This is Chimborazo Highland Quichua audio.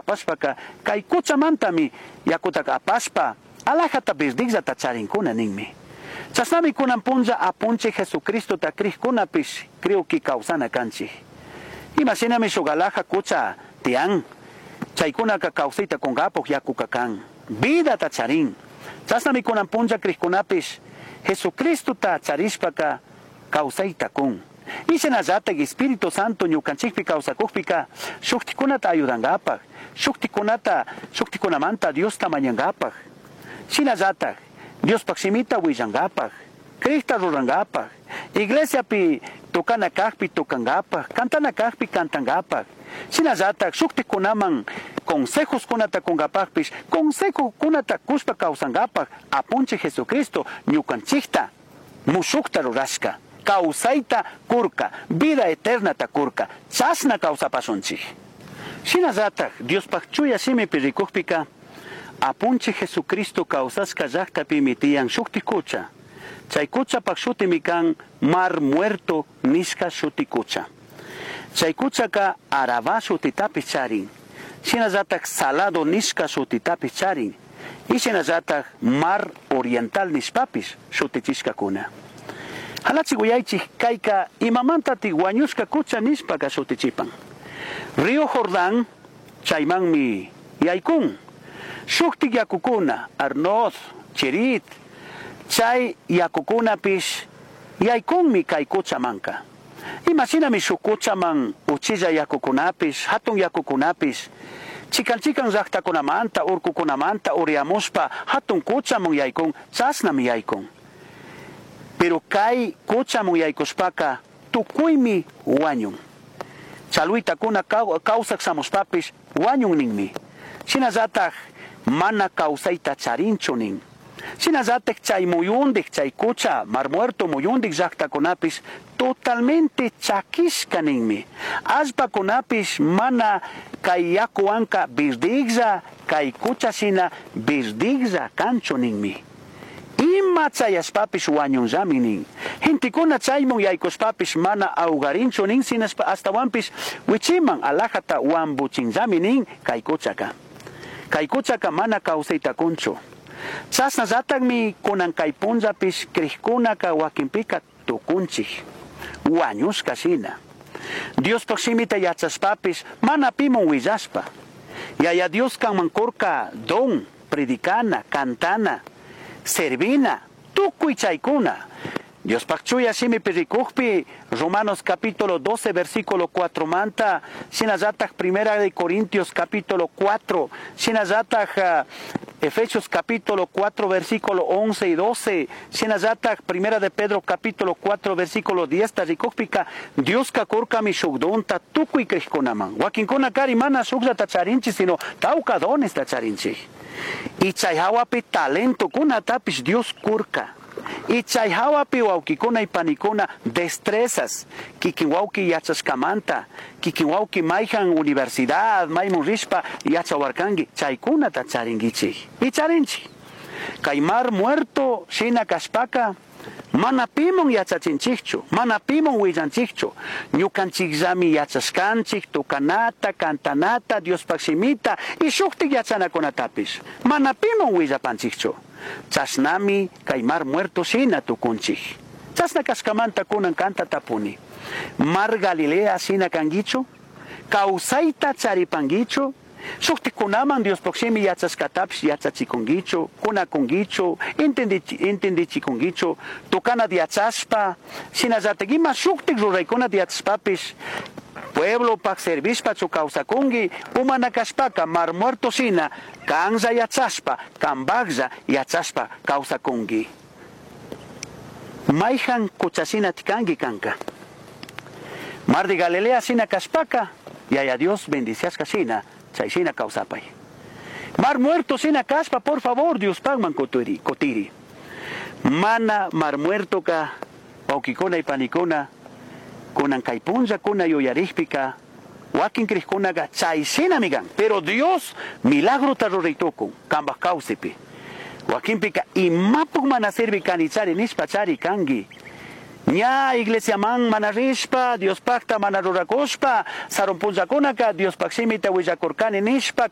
Apashpaca kay kuchamantami yakutaka apashpa alajata verdijllata charinkuna ninmi. Chashnami kunan punlla Apunchij Jesucristota crijkunapish creo que kawsana kanchik. Ima shinami shuk alaja kucha tiyan, chaykunaka kawsayta kunkapak yakuka kan, vidata charin. Chashnami kunan punlla crijkunapish Jesucristota charishpaka kawsayta kun. Y shinallatak Espíritu Santo ñukanchikpi kawsakukpika shuktikunata ayudankapak, shuktikunata shuktikunamanta Diosta mañankapak. Shinallatak Diospaj shimita willankapak, crijta rurankapak, iglesiapi tocana kajpi tocankapak, cantana kajpi cantankapak. Shinallatak shuktikunaman consejoskunata kunkapakpish, consejokunata kushpa kawsankapak Apunchik Jesucristo ñukanchikta mushukta rurashka. Kawsayta kurka, vida eternata kurka, chashna kawsapashunchik. Shinallatak Diospaj chuya shimipi rikukpika Apunchik Jesucristo kawsashka llaktapimi tiyan shukti kucha. Chay kuchapak shutimi kan Mar Muerto nishka shuti kucha. Chay kuchaka Arabá shutitapish charin. Shinallatak Salado nishka shutitapish charin. Y shinallatak Mar Oriental nishpapish shutichishkakuna. Halachi uyaychik kayka imamantatik wañushka kucha nishpaka shutichipan. Río Jordán chaymanmi yaykun. Shuktik yakukuna, Arnod, Cherit, chay yakukunapish yaykunmi kay kuchamanka. Imashinami shuk kuchaman uchilla yakukunapish, hatun yakukunapish, chikan chikan llaqtakunamanta, urkukunamanta uriyamushpa hatun kuchaman yaykun, chashnami yaykun. Pero kay kuchaman yaykushpaka tukuymi wañun. Chalwitakuna kawsak shamushpapish wañun ninmi. Shinallatak mana kawsayta charinchu nin. Shinallatak chay muyundik, chay kucha, Mar Muerto muyundik llaqtakunapish totalmente chakishka ninmi. Allpakunapish mana kay yakuwanka verdijlla, kay kucha shina verdijlla kanchu ninmi. Ima chayashpapish wañunllami nin. Gentekuna chaymun yaykushpapish mana ahogarinchu nin, sinashpa ashtawanpish wichiman alajata wambuchinllami nin kay kuchaka. Kay kuchaka mana kawsayta kunchu. Chashnallatakmi kunan kay punllapish crijkunaka wakinpika tukunchik. Wañushka shina. Diospaj shimita yachashpapish mana pimun willashpa. Yaya Dios kanman kurka don, predicana, cantana, servina, tukuy chaykuna. Diospaj chuya shimipi rikukpi, Romanos capítulo 12, versículo 4 manta, shinallatak Primera de Corintios capítulo 4, shinallatak Efesios capítulo 4, versículo 11 y 12, shinallatak Primera de Pedro capítulo 4, versículo 10, ta rikukpika, Dioska kurkami shuk donta tukuy crijkunaman. Wakinkuna kari mana shukllata charinchik, sino tawka donesta charinchik. Y chay hawapi talentokunatapish Dios kurka. Y chay hawapi wawkikuna y panikuna destrezas, kikin wawki yachashkamanta, kikin wawki mayhan universidad, maymun rishpa yachawarkanki, chaykunata charinkichik. Y charinchik. Kay Mar Muerto shina kashpaka, mana pimun yachachinchikchu, mana pimun willanchikchu. Ñukanchikllami yachashkanchik, tukanata, cantanata, Diospaj shimita y shuktik yachanakunatapish. Mana pimun willapanchikchu. Chashnami kay Mar Muerto shina tukunchik. Chashna kashkamanta kunan kanta tapuni. Mar Galilea shina kankichu? Kawsayta charipankichu? Shuktikunaman Diospaj shimi yachashkatapish yachachikunkichu, kunakunkichu, entendichikunkichu, tukana yachashpa, shinallatak ima shuktik ruraykunata yachashpapish, pueblopaj servishpachu kawsakunki, umana kashpaka Mar Muerto shina kanlla yachashpa, kambaklla yachashpa kawsakunki. Mayhan kuchashina tikanki kanka. Mar de Galilea shina kashpaka, Yaya Dios bendiciashka shina, chay shina kawsapay. Mar Muerto shina kashpa, por favor, Diospajman kutiri, kutiri. Mana Mar Muerto ka, wawkikuna y panikuna, kunan kay punllakuna yuyarikpika, wakin crijkunaga chay shinami kan. Pero Dios milagrota ruraytukun, kambaj kawsaypi. Wakinpika imapuk mana sirvi kanichari nishpa chari kanki. Ña iglesiaman mana rishpa, Diospajta mana rurakushpa, sarun punllakunaka Diospaj shimita willakurkani nishpa.